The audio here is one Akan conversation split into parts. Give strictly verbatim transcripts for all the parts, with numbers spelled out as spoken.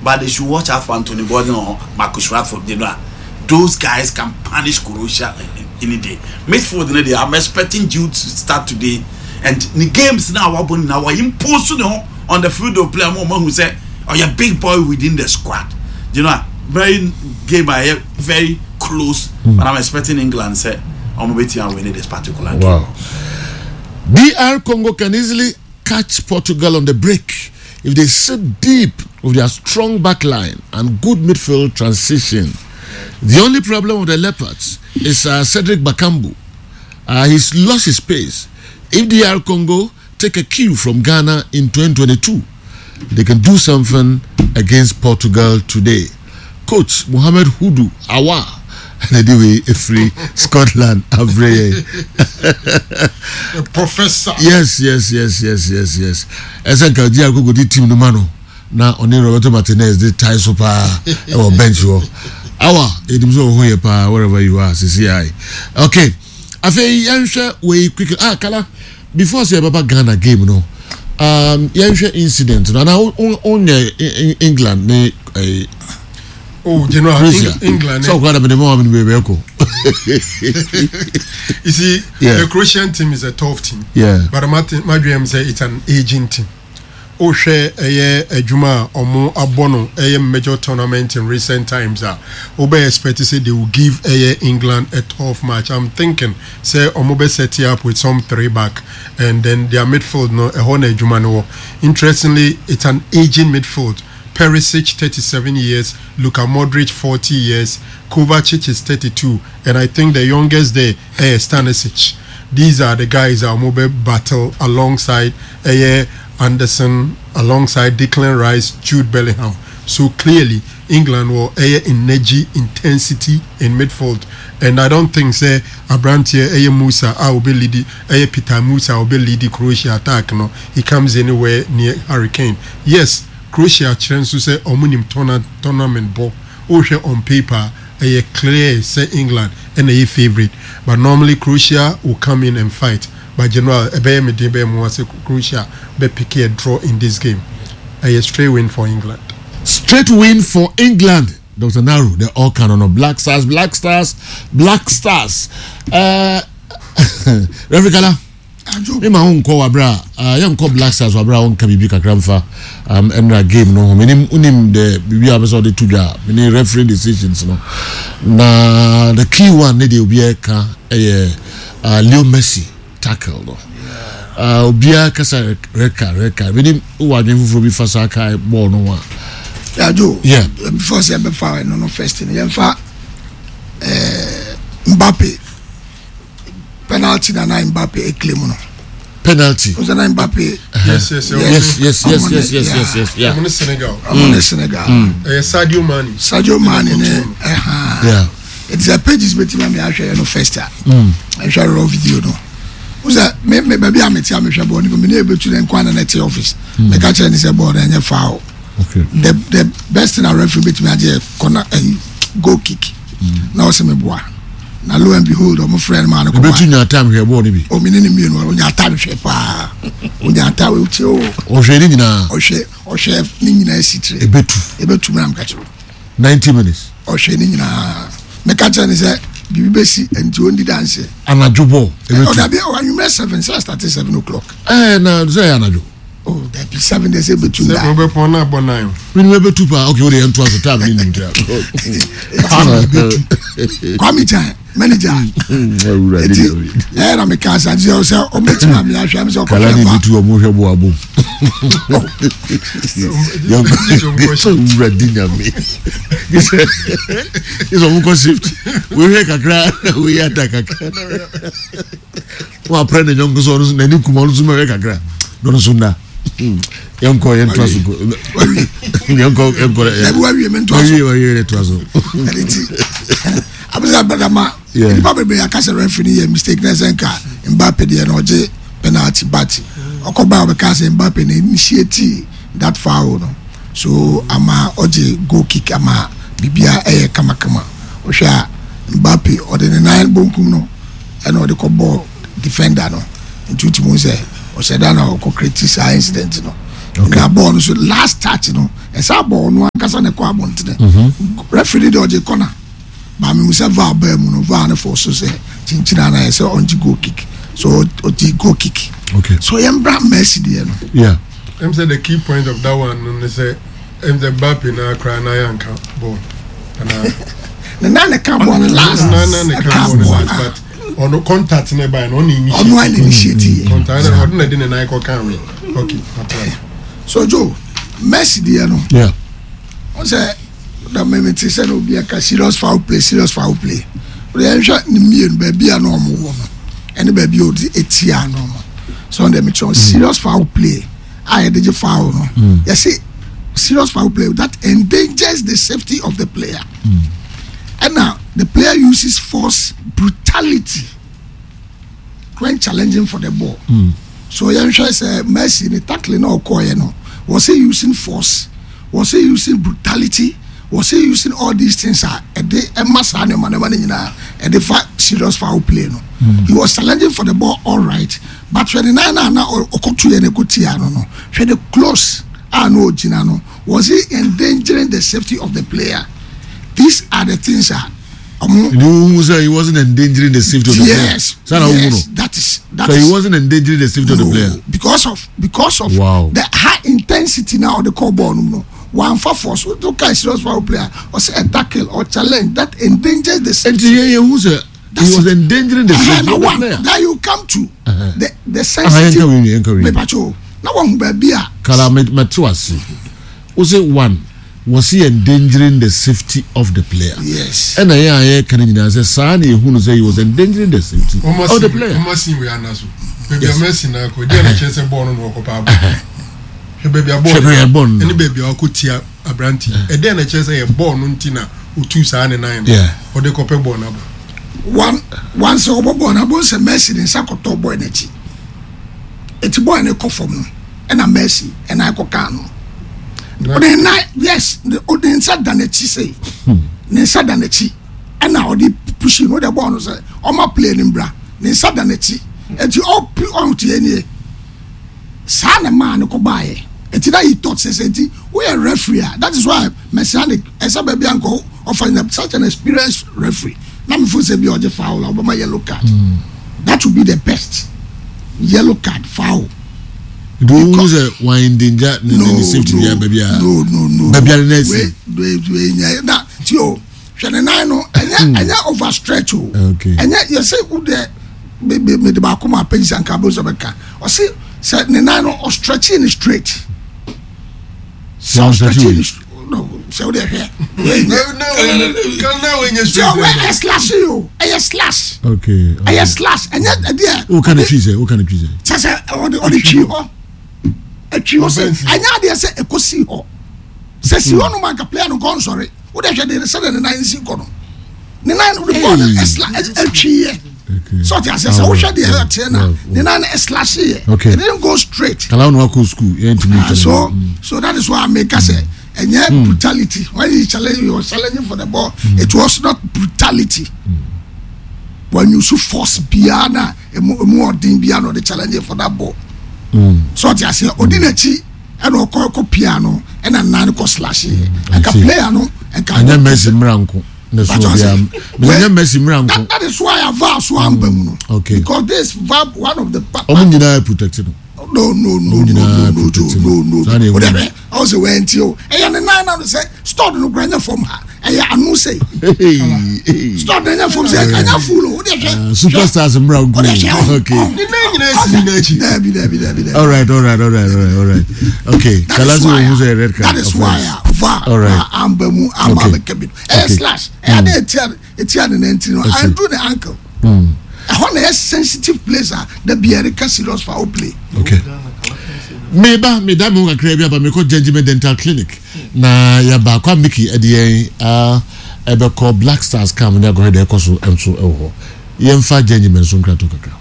But they should watch out for Anthony Gordon or Marcus Rashford. You know, those guys can punish Croatia any day. Midfield, you know, I'm expecting Jude to start today. And the games now, now we impose you know, on the field of play. I'm who say, "Oh, you're big boy within the squad." You know, very game I very close, mm. but I'm expecting England say, "I'm waiting and winning this particular game." Wow. D R Congo can easily catch Portugal on the break if they sit deep with their strong back line and good midfield transition. The only problem with the Leopards is uh, Cedric Bakambu. Uh, he's lost his pace. If D R Congo take a cue from Ghana in twenty twenty-two, they can do something against Portugal today. Coach Mohamed Hudu Awa anyway free Scotland abreye. The professor. Yes yes yes yes yes yes Ɛsɛ nka D R Congo di team no ma no na ɔne Roberto Martinez de tie so paa ɛwɔ bench hɔ. Awa edim sɛ ɔho yɛ paa wherever you are sisi ayi. Okay, afei yɛnhwɛ wei quickly. Ah, Kala, before sɛ yɛbɛba Ghana game no, um, yɛnhwɛ incident no ana wonyɛ England ne eh, Oh, General. Croatia. England. Sɛ ɔkora na mede ma wa mene bɛbɛ kɔ. You see, Yeah. the Croatian team is a tough team. Yeah. But Martin, my dream say it's an aging team. Wohwɛ ɛyɛ adwuma a ɔmo abɔ no ɛyɛ major tournament in recent times a, wobɛ expect say they will give ɛyɛ England a tough match. I'm thinking say ɔmo bɛ set it up with some three back and then their midfield no, ɛhɔ na adwuma no wɔ. Interestingly, it's an aging midfield. Perisic, thirty-seven years, Luka Modric, forty years, Kovacic is thirty-two, and I think the youngest there is Stanisic. These are the guys that will battle alongside ɛyɛ Anderson, alongside Declan Rice, Jude Bellingham. So clearly, England will ɛyɛ energy, intensity in midfield, and I don't think say aberanteɛ ɛyɛ Musa a ɔbɛ lead, ɛyɛ Peter Musa a ɔbɛ lead Croatia attack no, he comes anywhere near Harry Kane. Yes, Croatia kyerɛ nso sɛ ɔmo nim tourna tournament bɔ. Wohwɛ on paper, ɛyɛ clear sɛ England ɛna ɛyɛ favourite, but normally Croatia will come in and fight. But general, ɛbɛyɛ me den bɛyɛ mu sɛ Croatia bɛ pick a draw in this game. Ɛyɛ straight win for England. Straight win for England. Doctor Naru, the all canon of Black Stars, Black Stars, Black Stars. Uh, Reverend Kala, me ma ho nkɔ wabra a yɛnkɔ Black Stars wabra a wɔnka biribi kakra mfa um, ɛnra game no ho. Menim wonim the biribi a wopɛ sɛ ɔde to dwa a mene referee decisions no, na the key one ne deɛ obiara ka ɛyɛ uh, Leo Messi tackle no. uh, obiara kasa red card, red card. Menim wowɔ adwene foforɔ bi fa saa kae bɔɔl no ho a. Yajo. Yeah. Before sɛ yɛbɛfa ɛno no, first no yɛmfa ɛɛ Mbappe penalty na na Mbappe eclaim no. Penalty. O sɛ na Mbappe. yes yes yes yes yes yes yes yes yes yeah. Ɔmo ne Senegal. Ɔmo ne Senegal. Ɛyɛ Sadio Mane. Sadio Mane ne ɛhan. Yeah eti sɛ pages bɛtumi ami ahwɛ yɛ no first a, ɛhwɛ raw video no o, sɛ me me baabi a me te a mehwɛ bɔɔl no, me ne ebetu ne nkwa na ne te office, meka kyerɛ ne sɛ bɔɔl no ɛnyɛ foul. okay the the best thing a referee bɛtumi agye yɛ corner, ɛyi, goal kick, na ɔsɛ me boa. Na lo and behold, ɔmo frɛ no maa no. Ebetu nya time hwɛ bɔɔl no bi. Omi ne ne mmienu, onya time hwɛ paa, onya time otie o. Ɔhwɛ ne nyinaa. Ɔhwɛ ɔhwɛ ne nyinaa si tire. Ebetu. Ebetu mi na meka kyerɛ. Ninety minutes. Ɔhwɛ ne nyinaa, meka kyerɛ ne sɛ biribi bɛsi nti ondi danse. Anadwo bɔɔl ebetu. Ɔdabi, anwummerɛ seven sɛ start seven o'clock. Ɛɛ, na sɛ ɛyɛ anadwo. Oh dabi, seven de sɛ ebetu sɛ nda. ɔbɛpɔn na abɔ nine. Wini ebetu paa. Okay, o de yɛn to aso time ne nim tia. Kwame Chan manager eti ɛyɛ na meka asa nti sɛ ɔmɛtumi ami ahwɛ mi sɛ Kala ɔkɔhwɛ ni fa. ebetu ɔmo hwɛ bɔ abom. Wura di nyame sɛ ɔmo kɔ shift, wehwɛ kakra, weyɛ ata kakra, wɔn apɛ ne nyɔnko so, ɔno so n'ani kum, ɔno so mɛhwɛ kakra na ɔno so nda. Yɛnkɔ, yɛntoa so, yɛnkɔ, yɛnkɔ. Dabi, wawie, me ntoa so. Wawie, wawie, yɛ toa so. Ɛne ti abisa bɛdama. Yeah. Nipa bebree aka sɛ referee ni yɛ mistake na ɛsɛ nka Mbappe deɛ na ɔgye penalty, but ɔkɔba a ɔbɛka sɛ Mbappe na initiate that foul no, so ama ɔgye goal kick ama bibia ɛyɛ kamakama. Ɔhwɛ a, Mbappe ɔde ne nan bonkum no ɛna ɔde kɔ bɔɔl defender no, nti o ti mu sɛ ɔhyɛ da na ɔkɔ create saa incident no. Na bɔɔl no so last touch no, ɛsɛ bɔɔl no. ankasa na ɛkɔ abɔntene. Referee de ɔgye corner, maame mu sɛ VAR bɛɛ mu no, VAR ne fɔ so sɛ kyinkyin ana yɛ sɛ ɔngye goal kick, so ɔgye goal kick. Okay. So yɛn bra Messi deɛ no. Yeah. Em sɛ the key point of that one no ne sɛ em sɛ Mbappe na akora na yɛanka ball ana? Ne nan ne ka ball no last. Na na ne ka ɛka ball no ball. last, but ɔno contact ne ba no, ɔno initiate. Ɔno ayɛ initiate yɛ. Contact na ɔno na de ne nan kɔ kan we. Okay, atena. So Joe, Messi deɛ no, Yeah. wọn sɛ na mímí ti sɛ na obi aka serious foul play, serious foul play. O de yɛn hwɛ ne mmienu, baabi a na ɔmo wɔ no ɛne baabi a ɔde etia no no so ɔn deɛ mi kyerɛ serious foul play a yɛde gye foul no, yɛsi serious foul play that endangers the safety of the player, ɛna the player uses force, brutality when challenging for the ball. So yɛn hwɛ sɛ Messi ne tackling na ɔkɔɔ yɛ no, was he using force? Was he using brutality? Was he using all these things a ɛde ɛma saa nneɛma nneɛma no nyinaa ɛde fa serious foul play no? He was challenging for the ball, all right, but hwɛ ne nan na na ɔkɔto yɛ ne ko tia no no hwɛ the close a na ogyina no, was he endangering the safety of the player? These are the things a ɔmo. You say he wasn't endangering the safety of the player. Yes. Sana yes, that is that So is he wasn't endangering the safety of the No, player. because of because of Wow. the high intensity now of the call ball no no one for force o ka serious foul player or say a tackle or challenge that endangers the And safety. yeah, yeah, who said he That's was it. endangering the Uh-huh, safety na of the one player? now you come to Uh-huh. the the Ah, sensitive. yɛnka wei, yɛnka wei. Mepacho na wɔn baabi a. Kala mate wase. Wo say one, was he endangering the safety of the player? Yes. Ɛna yɛn a yɛka no nyinaa sɛ saa na ehu no sɛ he was endangering the safety Ɔmo of the si player. ɔmo si wei ana so baabi a Messi na akɔ deɛ na kyerɛ sɛ bɔɔl no na ɔkɔ pa abɔ. Hwɛ baabi a Hwɛ baabi a bɔɔl no. ɛne baabi a ɔkɔ tia aberante, ɛdɛn na kyerɛ sɛ yɛ bɔɔl no nti na otu saa ne nan no Yeah. ɔde kɔpɛ bɔɔl no abɔ? One one sɛ ɔbɔ bɔɔl na bɔ sɛ Messi ne nsa kɔtɔ bɔɔl n'akyi, eti bɔɔl ne kɔ fam no, ɛna Messi ɛna akɔ kan no ɔde nan, yes, ɔde nsa da n'akyi sɛ ne nsa da n'akyi ɛna ɔde push no, ɔde bɔɔl no sɛ ɔma play ne mbra, ne nsa da n'akyi eti ɔpi ɔntie nie saa na maa ne kɔ baayɛ. Eti na yi thought sɛ sɛ eti woyɛ referee a, that is why Messianic ɛsɛ baabi ankɔ ɔfa na such an experienced referee na mi fo sɛ bi ɔgye foul a, ɔbɛma yellow card. That would be the best yellow card foul. Do you sɛ wɔn endanger ne ne safety bi a baabi a no no no baabi a ne nan si? Wei wei wei nyɛ na ti o, hwɛ ne nan no, ɛnyɛ ɛnyɛ overstretch o. Okay. Ɛnyɛ yɛsɛ wo deɛ me me me de baako ma apɛnsi anka abo sɛ bɛka ɔsi sɛ ne nan no ɔstretch ne straight sɛ Sɛ ɔstretch ɔstretch wei? ne str- no, sɛ wo deɛ hwɛ wei nyɛ Na wei na wei nyɛ sɛ straight. ɔwɛ ɛ slash yi o, ɛyɛ slash. Okay. Ɛyɛ slash, ɛnyɛ ɛdeɛ. O ka ne twi sɛ o ka ne twi sɛ. Kyɛ sɛ ɔde ɔde twi hɔ, atwi hɔ sɛ Ɔbɛn si. ɛnyɛ adeɛ sɛ ɛkɔ si hɔ sɛ si hɔ nom anka player no nkɔ nsɔre. Wode hwɛ de sɛdeɛ ne nan si kɔ no, ne nan no de bɔɔl no ɛsla atwi yɛ. Okay. Sɛ ɔte aseɛ sɛ wohwɛ deɛ ɛteɛ na ne nan no ɛslash yɛ. Okay. It didn't go straight. Kala wɔn akɔ school yɛn ntumi Ah, nkyɛn. so so that is why I make say ɛnyɛ brutality. When he challenge, he was challenging for the ball. It was not brutality. When you use force biara na emu emu ɔden biara na ɔde challenging for that ball, so ɔte aseɛ, ɔdi n'akyi ɛna ɔkɔ ɛkɔ pia no, ɛna nan kɔ slash yɛ ɛka see. player no ɛka. Ɛnyɛ Messi mmira nko ne so But obiara ɔse- ɛnyɛ Messi mmira that nko. That is why a VAR so amba mu no. Okay. Because this VAR, one of the pa Ɔmo nyinaa protect no. no no no Ɔmo no nyinaa no no protect no no. no. Saa na No, ewu o de no. bɛ ɔwɔ sɛ wɛn ti o, ɛyɛ ne nan na sɛ stud no kura nyɛ fam ha, ɛyɛ ano sɛ stud no nyɛ fam sɛ ɛnyɛ full o, o de hwɛ. Superstars mmira nko. O de hwɛ. Okay. Ne nan nyinaa si n'akyi. Dabi dabi dabi dabi. All right, all right, all right, all right, all right. Okay. That Kala is so why ohun sɛ red card. That is of why course. a VAR All right. amba mu ama Okay. bɛka bi no ɛyɛ Okay. slash, ɛyɛ ade etia etia ne nan ti no Okay. anduru ne ankle ɛhɔ na ɛyɛ sensitive place a da biara ka serious foul play. Okay. Meba meda me ho kakra bi aba, mekɔ Gentleman Dental Clinic na yɛba kwa Miki ɛde yɛn ah, ɛbɛkɔ Black Stars camp ne akɔhwɛ deɛ ɛkɔ so nso ɛwɔ hɔ. Yɛmfa Gentleman so nkrato kakra.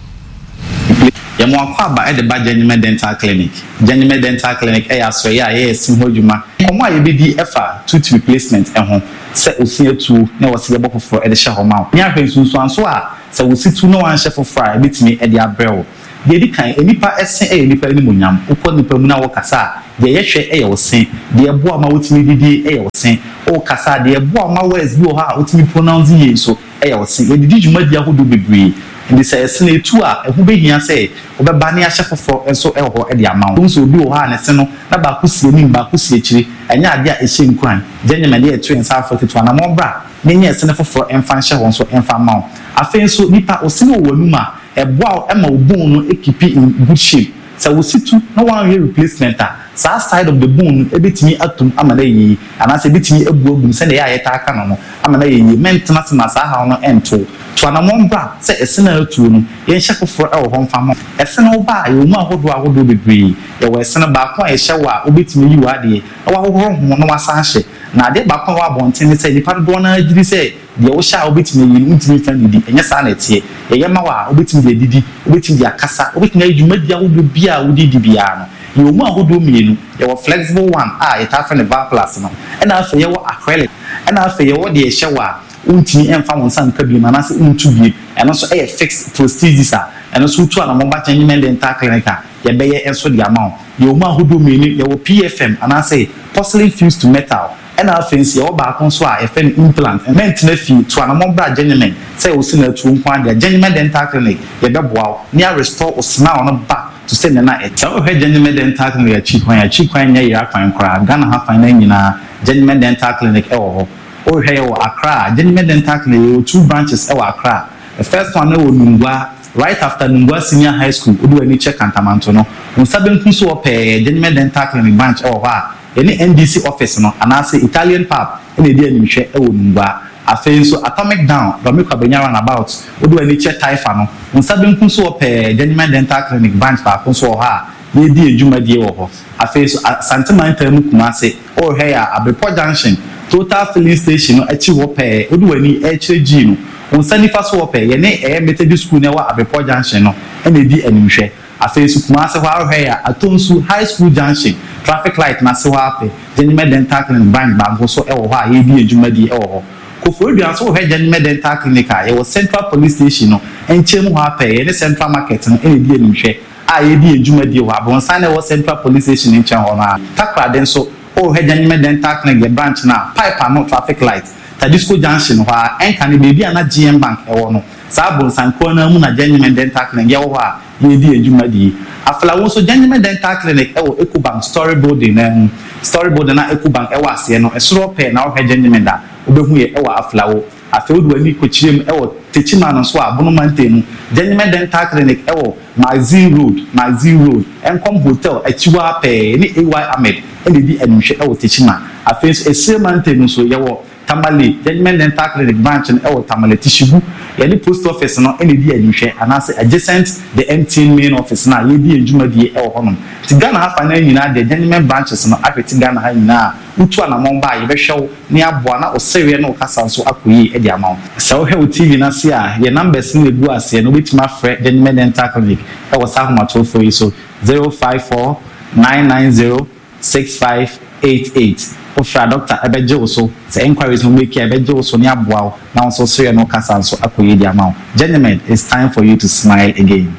Yɛmo akɔ aba ɛde ba Genuine Dental Clinic. Genuine Dental Clinic ɛyɛ asɔeɛ a yɛyɛ si ho adwuma. Nkɔmɔ a yɛbɛdi ɛfa tooth replacement ɛho, sɛ osi atuo na wɔsi yɛbɔ foforɔ ɛde hyɛ hɔ ma wo, ne ahwɛ nsunsuanso a sɛ wosi tu na wanhyɛ foforɔ a ɛbɛtumi ɛde abrɛ wo. Deɛ di kan, nipa ɛse ɛyɛ nipa animuonyam. Wokɔ nipa mu na wɔkasa a, deɛ yɛhwɛ ɛyɛ wo se. Deɛ ɛboa ma wotumi didi ɛyɛ wo se. Wokasa a, deɛ ɛboa ma words bi wɔ hɔ a wotumi pronounce yie nso ɛyɛ wo se. Yɛdidi dwumadi ahodoɔ bebree, nti sɛ ɛse no etu a, ɛho behia sɛ wɔbɛba ne ahyɛ foforɔ nso ɛwɔ hɔ ɛde ama wo. Nso obi wɔ hɔ a ne se no na baako si anim, baako si akyire, ɛnyɛ adeɛ a ɛhyɛ nkuran. Gyɛnyɛmɛ deɛ ɛto yɛn nsa afɔ tete anamɔ bra ne nyɛ ɛse no foforɔ ɛmfa nhyɛ hɔ nso ɛmfa mma wo. Afei nso nipa ɔse no wɔ w'anum a, ɛboa wo ɛma wo bone no ekeep in good shape. Sɛ wo si tu na wɔanyɛ replacement a, saa side of the bone no ebetumi atum ama no ayɛ yie, anaasɛ ebetumi abu agum sɛdeɛ ɛyɛ a yɛtaa ka no no ama no ayɛ yie. Mɛntena se ma saa haw no ɛnto to anamɔ bra sɛ ɛse no atuo no, yɛnhyɛ foforɔ ɛwɔ hɔ mfa ma ɛse no. Ba a yɛwɔ mu ahodoɔ ahodoɔ bebree. Yɛwɔ ɛse no baako a yɛhyɛ wɔ a wobɛtumi yi wɔ adeɛ na wahohoro ho na wasan hyɛ. Na adeɛ baako a ɛwɔ abɔnten ne sɛ nipa dodoɔ no ara gye di sɛ deɛ wohyɛ a wobɛtumi ayi no, wontumi mfa ndidi. Ɛnyɛ saa na ɛteɛ. Yɛyɛ ma wo a, wobɛtumi de adidi, wobɛtumi de akasa, wobɛtumi ayɛ dwumadi ahodoɔ biara a wode di biara no. Yɛwɔ mu ahodoɔ mmienu. Yɛwɔ flexible one a yɛtaa frɛ no Valplast no, ɛna afei yɛwɔ acrylic, ɛna afei yɛwɔ deɛ ɛhyɛ wɔ a wontumi mfa wo nsa nka biem anaasɛ wontu biem. Ɛno nso ɛyɛ fixed prosthesis a ɛno nso wotu anamɔ ba Gentleman Dental Clinic a, yɛbɛyɛ nso de ama wo. Yɛwɔ mu ahodoɔ mmienu. Yɛwɔ P F M anaasɛ porcelain fused to metal, ɛna afei nso yɛwɔ baako nso a yɛfrɛ no implant. Mɛntena fie, to anamɔ bra Gentleman sɛ wosi na atuo nko adeɛ. Gentleman Dental Clinic, yɛbɛboa wo ne a restore wo smile no back to sɛ nana ɛte. Sɛ wohwɛ Gentleman Dental Clinic akyi kwan, akyi kwan nyɛ yera kwan koraa. Ghana ha fan no nyinaa, Gentleman Dental Clinic ɛwɔ hɔ. Wohwɛ yɛ wɔ Accra, Gentleman Dental Clinic, yɛwɔ two branches ɛwɔ Accra. The first one ɛwɔ Nungua, right after Nungua Senior High School, wode w'ani kyɛ Kantamanto no, wo nsa benkum so wɔ pɛɛ, Gentleman Dental Clinic branch ɛwɔ hɔ a yɛne N D C office no anaasɛ Italian Pub ɛna ɛdi animhwɛ ɛwɔ Nungua. Afei nso Atomic Down, Dome Kwabenya roundabout, wode w'ani kyɛ Taifa no, wo nsa benkum so wɔ pɛɛ, Gentleman Dental Clinic branch baako nso wɔ hɔ a yɛredi adwumadie wɔ hɔ. Afei nso Asantemantam mu, Kumase, ɔrehwɛ yɛ a, Abrepɔ Junction, Total filling station no akyi hɔ pɛɛ, wode w'ani ɛrekyerɛ gyii no, wo nsa nifa so wɔ pɛɛ, yɛne ɛyɛ Methodist School na ɛwɔ Abrepɔ Junction no ɛna ɛdi animhwɛ. Afei nso Kumase hɔ, ahwɛ yɛ a, Atonsu High School Junction, traffic light n'ase hɔ apɛ, Gentleman Dental Clinic branch baako so ɛwɔ hɔ a yɛredi adwumadie ɛwɔ hɔ. Koforidua nso, wɔhwɛ Gentleman Dental Clinic a, yɛwɔ Central Police Station no nkyɛn mu hɔ apɛ, yɛne Central Market no ɛna ɛdi animhwɛ a yɛdi adwumadie wɔ abronsan na ɛwɔ Central Police Station nkyɛn hɔ no a. Takoradi nso, wɔhwɛ Gentleman Dental Clinic yɛ branch no a, Pipe ano traffic light, Tadisco Junction hɔ a ɛnka ne beebi a na G M Bank ɛwɔ no, saa abronsan kuro no mu na Gentleman Dental Clinic yɛwɔ hɔ a yɛdi adwumadie. Aflawo nso, Gentleman Dental Clinic ɛwɔ Ecobank story building na mu, story building na Ecobank ɛwɔ aseɛ no, ɛsoro pɛɛ na wɔhwɛ Gentleman da wobɛhu yɛ ɛwɔ Aflawo. Afei wode w'ani kɔkyerɛ mu ɛwɔ Techiman no nso a, Bonoma mu, Gentleman Dental Clinic ɛwɔ Magazine Road, Magazine Road, Nkɔm Hotel akyiwa pɛɛ ne A Y Ahmed ɛna ɛdi animhwɛ ɛwɔ Techiman. Afei nso Esire mantam nso, yɛwɔ Tamale, Gentleman Dental Clinic branch no ɛwɔ Tamale Tishigu, yɛne post office no ɛna ɛdi animhwɛ anaasɛ adjacent the M T N main office no a yɛdi adwumadie ɛwɔ hɔnom. Nti Ghana ha fa no nyinaa deɛ, Gentleman branches no ahwete Ghana ha nyinaa. Wotu anammɔn ba a, yɛbɛhwɛ wo ne aboa na ɔsɛreɛ ne ɔkasa nso akɔ yie de ama wo. Sɛ wohwɛ wo T V no ase a, yɛ numbers no egu aseɛ no, wobɛtumi afrɛ Gentleman Dental Clinic ɛwɔ saa ahomatorofoɔ yi so: zero five four nine nine zero six five eight eight. Wofra doctor, ɛbɛgye wo so. Sɛ enquiries no make a, ɛbɛgye wo so ne aboa wo na wo nso sereɛ no kasa nso akɔ yie de ama wo. Gentlemen, it's time for you to smile again.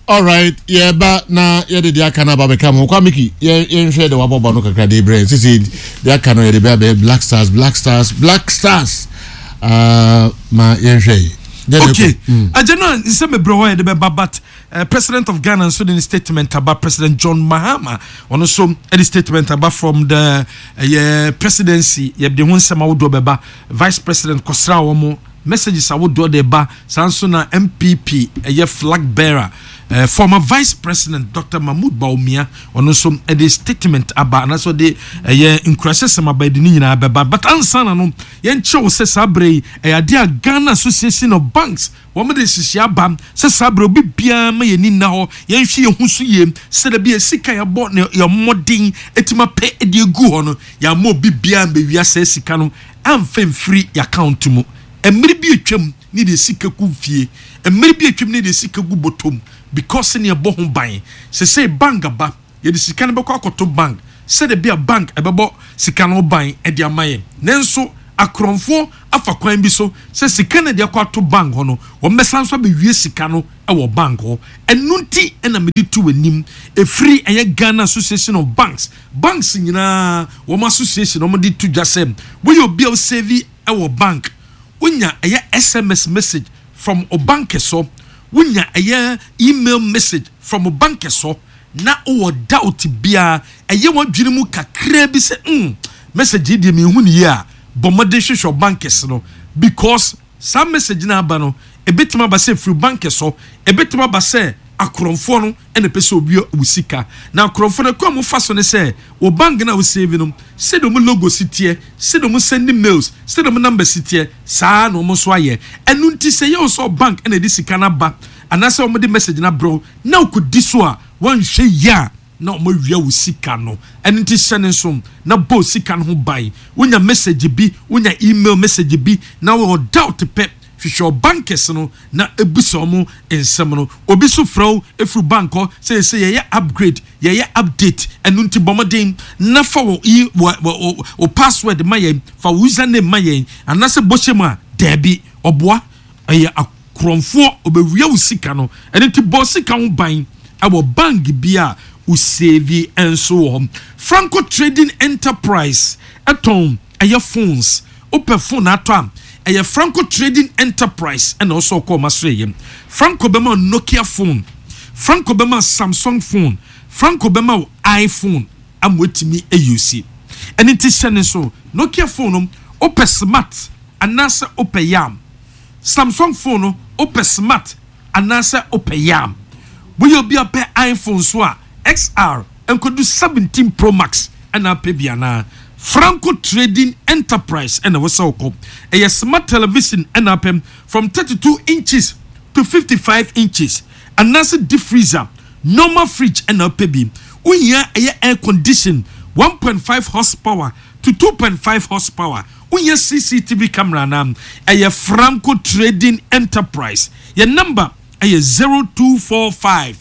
Alright, yɛba na yɛde deɛ aka no aba bɛka mo kwa. Miki, yɛnhwɛ de wabɔbɔ no kakra de brɛ sisi. Deɛ aka no yɛde bɛ abɛyɛ Black Stars, Black Stars, Black Stars. uh, ma yɛnhwɛ yi. Okay, agye no nsɛm bebree hɔ yɛde bɛba, but uh, President of Ghana nso de ne statement aba. President John Mahama, ɔno nso de statement aba from the ɛyɛ uh, presidency. Yɛde ho nsɛm ahodoɔ bɛba. Vice President kɔsra wɔn, messages ahodoɔ de ba. Saa nso na N P P ɛyɛ flag bearer, uh, former Vice President Doctor Mahmood Bawumia, ɔno nso de statement aba anaasɛ ɔde ɛyɛ nkurahyɛsɛm aba. Yɛde ne nyinaa bɛba, but ansa na no, yɛnkyerɛw sɛ saa berɛ yi ɛyɛ adeɛ a Ghana Association of Banks wɔn de nhyehyɛ aba sɛ saa berɛ obi biara ma yɛn ni nna hɔ, yɛnhwɛ yɛn ho so yie sɛdeɛ bi yɛ sika yɛbɔ ne yɛn mmɔden etim apɛ de egu hɔ no, yɛama obi biara mbɛwia sɛ sika no amfa mfiri yɛ account mu. Mmere bi atwam ne deɛ sika gu fie, mmere bi atwam ne deɛ sika gu bɔtɔm because ne ɛbɔ ho ban. Sɛ bank aba, yɛde sika no bɛkɔ akɔto bank sɛdeɛ bi a bank ɛbɛbɔ sika no ban ɛde ama yɛn. Nanso Akorɔmfoɔ afa kwan bi so sɛ sika no de akɔ ato bank hɔ no, wɔn bɛsan so abɛwie sika no wɔ bank hɔ. Ɛno nti ɛna mede to w'anim, ɛfiri ɛyɛ Ghana Association of Banks, banks nyinaa wɔn association, wɔn de to dwa sɛ woyɛ obi a wosave ɛwɔ bank, wonya ɛyɛ S M S message from o bank so, wonya ɛyɛ email message from o bank so, na wowɔ doubt biara, ɛyɛ wɔn adwene mu kakra bi sɛ mm message yi deɛ mehu ne yie a, bɔ mmɔden hwehwɛ bank no, because saa message no aba no, ebɛtumi aba sɛ firi bank so, ebɛtumi aba sɛ akorɔmfoɔ no ɛna pɛ sɛ obi wɔ sika. Na akorɔmfoɔ no kwan a wɔfa so ne sɛ wɔ bank no a wɔsave no, sɛdeɛ wɔn logo si teɛ, sɛdeɛ wɔn send mails, sɛdeɛ wɔn number si teɛ, saa na wɔn nso ayɛ. Ɛno nti sɛ yɛ wɔ bank ɛna ɛde sika no aba anaasɛ wɔn de message no abrɛw na okodi so a, wɔnhwɛ yie a, na wɔn awia wo sika no. Ɛno nti hyɛ ne nso na bɔ sika no ho ban. Wonya message bi, wonya email message bi na wɔ doubt pɛ, hwehwɛ bankers no na ebusa wɔn nsɛm no. Obi so frɛ wo efiri bank hɔ sɛ sɛ yɛyɛ upgrade, yɛyɛ update, ɛno nti bɔ mmɔden na fa wɔ yi wɔ wɔ wɔ password ma yɛn, fa wo username ma yɛn, anaasɛ bɔhyɛ mu a, dɛɛbi, ɔboa, ɛyɛ akorɔmfoɔ, ɔbɛwia wo sika no. Ɛno nti bɔ sika ho ban ɛwɔ bank bi a wosave nso wɔ hɔ. Franco Trading Enterprise ɛtɔn ɛyɛ phones. Wopɛ phone atɔ a, ɛyɛ Franco Trading Enterprise ɛna ɔsɔ ɔkɔ ɔma so. Yɛ Franco bɛma Nokia phone, Franco bɛma Samsung phone, Franco bɛma iPhone ama watumi ayusi. Ɛne nti hyɛ ne so, Nokia phone no, wopɛ smart anaasɛ wopɛ yam? Samsung phone no, wopɛ smart anaasɛ wopɛ yam? Woyɛ obi a pɛ iPhone so a, X R nkodu seventeen Pro Max ɛna apɛ bi anaa, Franco Trading Enterprise ɛna wɔsɛ wokɔ. Ɛyɛ smart television ɛna apɛ, from thirty-two inches to fifty-five inches, anaasɛ deep freezer, normal fridge ɛna apɛ bi, wohia ɛyɛ air condition one point five horsepower to two point five horsepower, wohia C C T V camera na ɛyɛ Franco Trading Enterprise. Yɛ number ɛyɛ zero two four five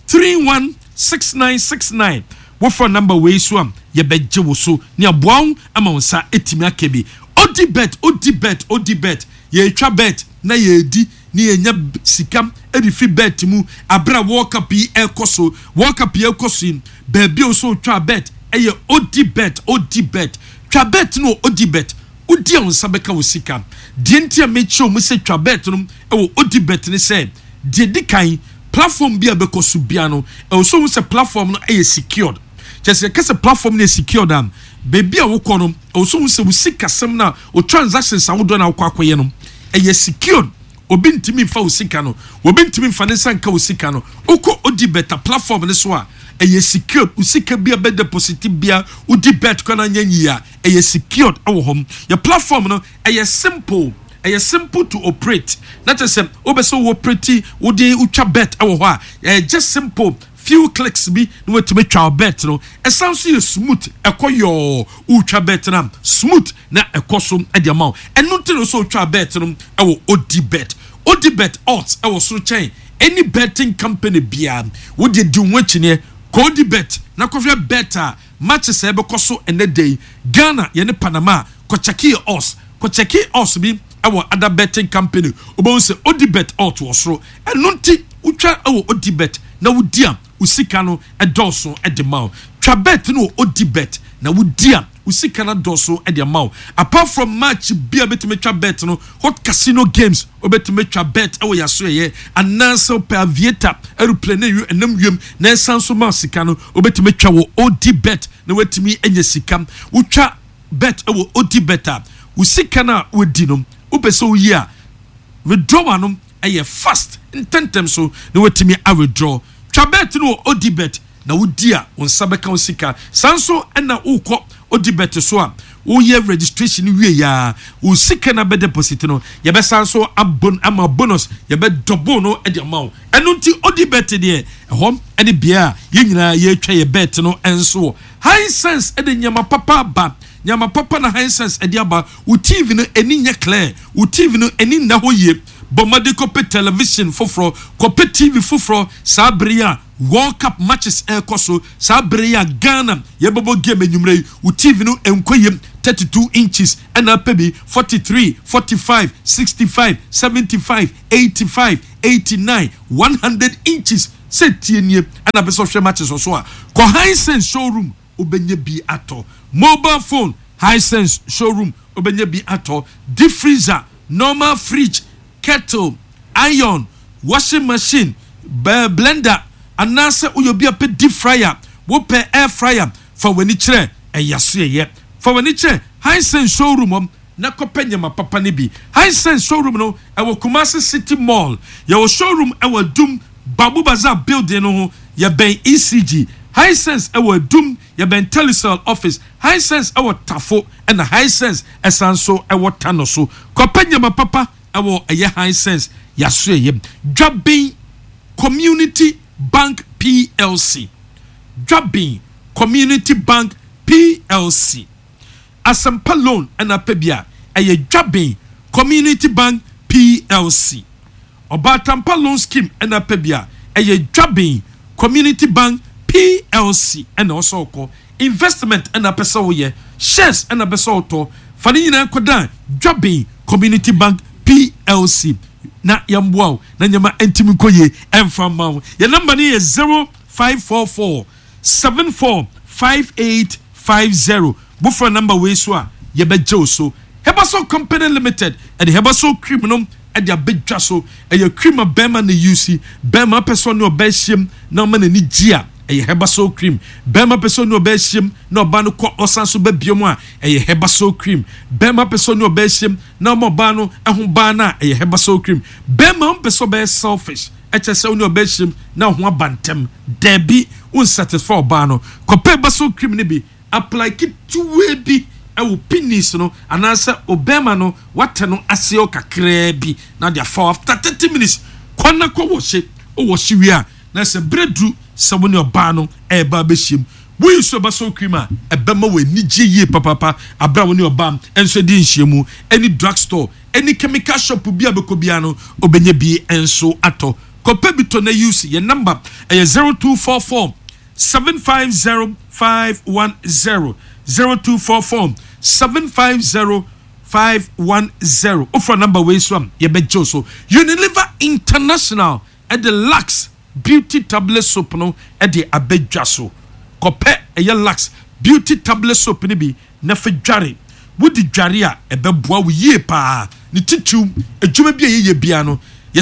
three one six nine six nine. Wofa number wei so a, yɛbɛgye wo so ne aboa wo ama wo nsa ɛtumi aka bi. Odi bet, odi bet, odi bet, yɛtwa bet na yɛdi ne yɛnya sika ɛde fi bet mu. Abere a World Cup yi ɛkɔ so, World Cup yi ɛkɔ so yi, baabi a wɔsɔ twa bet ɛyɛ odi bet. Odi bet, twa bet no, odi bet, wodi a wo nsa bɛka wo sika. Deɛ nti a mekyerɛ mu sɛ twa bet no ɛwɔ odi bet ne sɛ, deɛ di kan, platform bi a bɛkɔ so bia no, ɛwɔ so sɛ platform no ɛyɛ secured. Kyerɛ sɛ yɛka sɛ platform no yɛ secured a, beebi a wokɔ no, ɛwɔ so sɛ wo sikasɛm no a, wo transactions ahodoɔ no a wokɔ akɔyɛ no, ɛyɛ secured. Obi ntumi nfa wo sika no, obi ntumi nfa ne nsa nka wo sika no. Wokɔ odi bet platform no so a, ɛyɛ secured. Wo sika bi a bɛ deposit bia, wodi bet kɔ na nyɛ yie a, ɛyɛ secured ɛwɔ hɔ. Yɛ platform no ɛyɛ simple, ɛyɛ simple to operate, na kyerɛ sɛ wobɛ sɛ wo operate, wode wotwa bet ɛwɔ hɔ a, ɛyɛ just simple few clicks bi na watumi twa bet no. Ɛsan so yɛ smooth, ɛkɔ yɔɔ. Wotwa bet no smooth na ɛkɔ so ɛde ama wo. Ɛno nti na so wotwa bet no ɛwɔ odi bet. Odi bet odds ɛwɔ soro kyɛn any betting company biara. Wode di ho akyineɛ kɔ odi bet na kɔhwɛ bet a matches a ɛbɛkɔ so ɛnɛ da yi, Ghana yɛne Panama. Kɔkyɛke odds, kɔkyɛke odds bi ɛwɔ other betting company, wobɛhu sɛ odi bet odds wɔ soro. Ɛno nti wotwa ɛwɔ odi bet na wodi a, wo sika no ɛdɔɔso ɛde ma wo. Twa bet no wɔ odi bet na wodi a, wo sika no dɔɔso ɛde ama wo. Apart from match bi a bɛtumi twa bet no, hot casino games wobɛtumi twa bet ɛwɔ yaso ɛyɛ, anaasɛ wopɛ aviator, aeroplane ne ɛnam wiem na ɛsan so ma sika no, wobɛtumi twa wɔ odi bet na watumi anya sika. Wotwa bet ɛwɔ odi bet a, wo sika no a wodi no, wopɛ sɛ woyi a, withdrawal no ɛyɛ fast, ntɛntɛm so na watumi a withdraw. Twa bet no wɔ odi bet na wodi a, wo nsa bɛka wo sika. Saa nso ɛna wokɔ odi bet so a, woyɛ registration wie yaa, wo sika na bɛ deposit no, yɛbɛsan so abon ama bonus, yɛbɛ double no de ama wo. Ɛno nti odi bet deɛ, ɛhɔ ɛne bea a yɛn nyinaa yɛretwa yɛ bet no. Nso wɔ Hisense ɛde nneɛma papa aba, nneɛma papa na Hisense ɛde aba. Wo T V no ani nyɛ clear, wo T V no ani nna hɔ yie. Bɔ mmɔden kɔpɛ television foforɔ, kɔpɛ T V foforɔ. Saa bere yi a World Cup matches ɛrekɔ so, saa bere yi a Ghana yɛbɛbɔ game anwummerɛ yi, wo T V no nkɔ yam. thirty-two inches ɛna apɛ bi, forty-three, forty-five, sixty-five, seventy-five, eighty-five, eighty-nine, one hundred inches sɛ tie nie ɛna bɛ sɛ ɔhwɛ matches wɔ so a, kɔ Hisense showroom, wobɛnya bi atɔ. Mobile phone, Hisense showroom, wobɛnya bi atɔ. Deep freezer, normal fridge, kettle, iron, washing machine, bɛɛ blender, anaasɛ woyɛ obi a pɛ deep fryer, wopɛ air fryer, fa w'ani kyerɛ ɛyɛ so yɛyɛ. Fa w'ani kyerɛ Hisense showroom hɔ na kɔpɛ nyama papa no bi. Hisense showroom no ɛwɔ Kumasi City Mall. Yɛwɔ showroom ɛwɔ Dum Babu Bazaar building no ho, yɛbɛn E C G. Hisense ɛwɔ Adum, yɛbɛn Telecel office. Hisense ɛwɔ Tafo, ɛna Hisense ɛsan so ɛwɔ Tano so. Kɔpɛ nyama papa ɛwɔ ɛyɛ Hisense yaso ɛyɛ Dwabin Community Bank P L C. Dwabin Community Bank P L C, Asɛmpa loan ɛna apɛ bi a, ɛyɛ Dwabin Community Bank P L C. Ɔbaatampa loan scheme ɛna apɛ bi a, ɛyɛ Dwabin Community Bank P L C ɛna ɔsɛ ɔkɔ. Investment ɛna apɛ sɛ woyɛ, shares ɛna apɛ sɛ ɔtɔ, fa ne nyinaa kɔdan Dwabin Community Bank P L C na yɛmboa wo na nneɛma ntumi nkɔ yie ɛmfa mma wo. Yɛn number no yɛ zero five four four seven four five eight five zero. Bofra number wei so a, yɛbɛgye wo so. Herbasol Company Limited ɛde Herbasol cream no ɛde abɛdwa so. Ɛyɛ cream a bɛrima na use. Bɛrima pɛ sɛ ɔne ɔbaa hyiam na ɔma n'ani gye a, ɛyɛ Herbasol cream. Bɛrima pɛ sɛ ɔne ɔbaa hyiam na ɔbaa no kɔ ɔsan so bɛbie mu a, ɛyɛ Herbasol cream. Bɛrima pɛ sɛ ɔne ɔbaa hyiam na ɔma ɔbaa no ɛho baa no a, ɛyɛ Herbasol cream. Bɛrima pɛ sɛ ɔbɛyɛ selfish, ɛkyɛ sɛ ɔne ɔbaa hyiam na ɔho aba ntɛm, dɛbi, wonsatisfy ɔbaa no, kɔpɛ Herbasol cream no bi apply ketewa bi ɛwɔ penis no anaasɛ ɔbɛrima no wata no ase kakraa bi na de afa. After thirty minutes, kɔ na kɔ wɔhye. Ɔwɔhye wie a, na sɛ berɛ duru sɛ wo ne ɔbaa no ɛreba abɛhyia mu, woyi so Herbasol cream a, ɛbɛma wɔ anigye yie papapa abere a wo ne ɔbaa nso di nhyiamu. Ɛne drug store, ɛne chemical shop bi a bɛkɔ biara no, ɔbɛnya bi nso atɔ. Kɔpɛ bi tɔ na use. Yɛn number ɛyɛ zero two four four seven five zero five one zero, zero two four four seven five zero five one zero. Wofra number wei so a, yɛbɛgye wo so. Unilever International ɛde Lux Beauty Tablet soap no ɛde abɛdwa so. Kɔpɛ ɛyɛ Lux Beauty Tablet soap no bi na fa dware. Wodi dware a, ɛbɛboa wo yie paa. Ne titiw adwuma bi a yɛyɛ bia no